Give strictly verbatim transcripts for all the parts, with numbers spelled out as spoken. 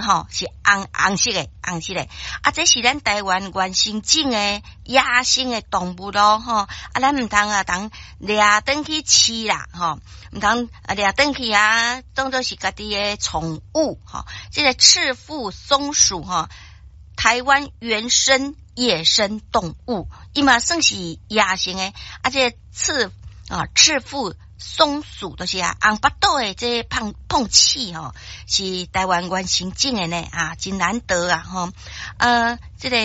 吼是紅紅色的，紅色的。啊，這是咱台灣原生種的野生的動物囉，吼。啊，咱毋通啊，通掠轉去飼啦，吼。毋通啊掠轉去啊，當做是家己的寵物，吼。這個赤腹松鼠，吼，台灣原生野生動物，伊嘛算是野生的。啊，這個赤啊赤腹松鼠就是啊，紅腹肚的這個膨翅吼，是台灣原生種的呢，啊，真難得啊，吼。呃，這個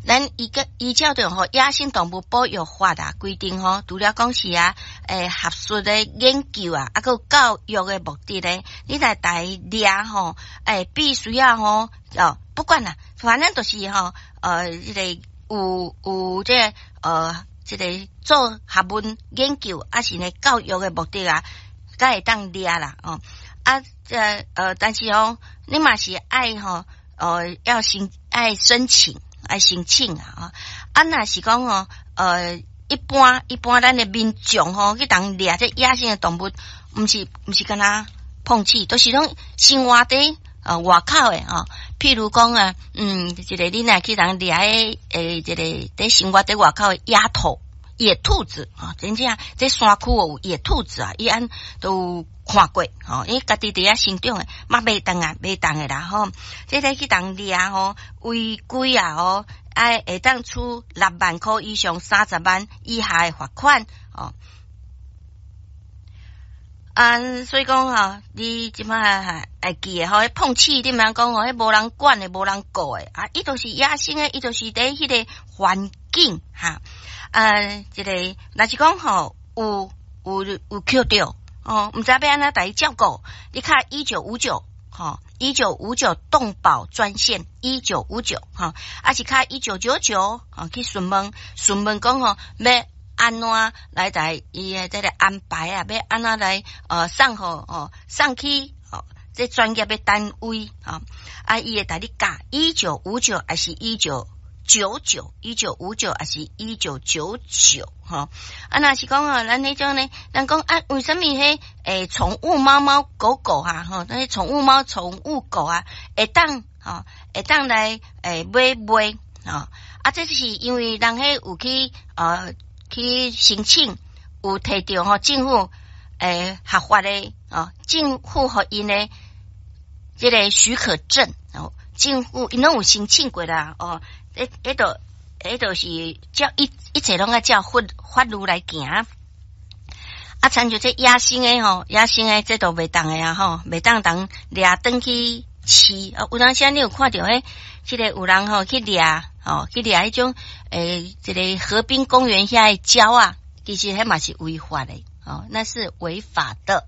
咱依個依照著吼野生動物保育法啊規定吼，除了講是啊，欸，學術的研究啊，啊，閣有教育的目的咧，你來共伊掠吼，欸，必須要吼，哦，不管啦，反正就是吼，呃，這個有有這個呃。這個做學問研究，抑是呢教育的目的啊，才會當掠啦哦。啊，這呃，但是哦，你嘛是愛吼，呃，要申愛申請，愛申請啊。啊，若是講哦，呃，一般一般咱的民眾吼去共掠這野生的動物，毋是毋是干焦膨翅，都是攏生活佇呃外口的吼。譬如講啊，嗯，一個你若去共掠的，欸，這個佇生活佇外口的野兔、野兔子啊，真正這山區有野兔子啊，伊按都有看過吼，伊家己佇遐生長的，嘛袂當啊，袂當的啦吼。這個去共掠吼，違規啊吼，愛會當處六萬箍以上三十萬以下的罰款哦。啊，所以講吼，你這擺會記得吼，彼膨翅你毋通講吼，彼無人管的，無人顧的，啊，伊就是野生的，伊就是佇彼個環境哈，啊，這個若是講吼，有有有抾著哦，毋知欲按怎共伊照顧，你敲一九五九吼，一九五九動保專線一九五九吼，抑是敲一九九九吼去詢問詢問講吼，欲按怎來共伊的這個安排啊？欲按怎來呃送予哦送去哦這專業的單位啊？啊，伊會共你教一九五九抑是一九九九一九五九抑是一九九九吼？啊，若是講哦，咱彼種呢？人講啊，為啥物彼欸寵物貓貓狗狗啊？吼，那些寵物貓寵物狗啊，會當吼會當來欸買賣吼？啊，這是因為人彼有去呃。去申請，有提著吼政府欸合法的哦，政府予𪜶的這個許可證哦，政府𪜶攏有申請過啦哦，彼彼都彼都是照一一切攏愛照法法律來行。啊，親像這野生的吼，野生的這都袂當的啊吼，袂當共掠轉去飼啊。有當時你有看著彼，這個有人吼去掠。哦，去掠彼種欸，這個河濱公園遐的鳥仔，其實彼嘛是違法的，哦，那是違法的。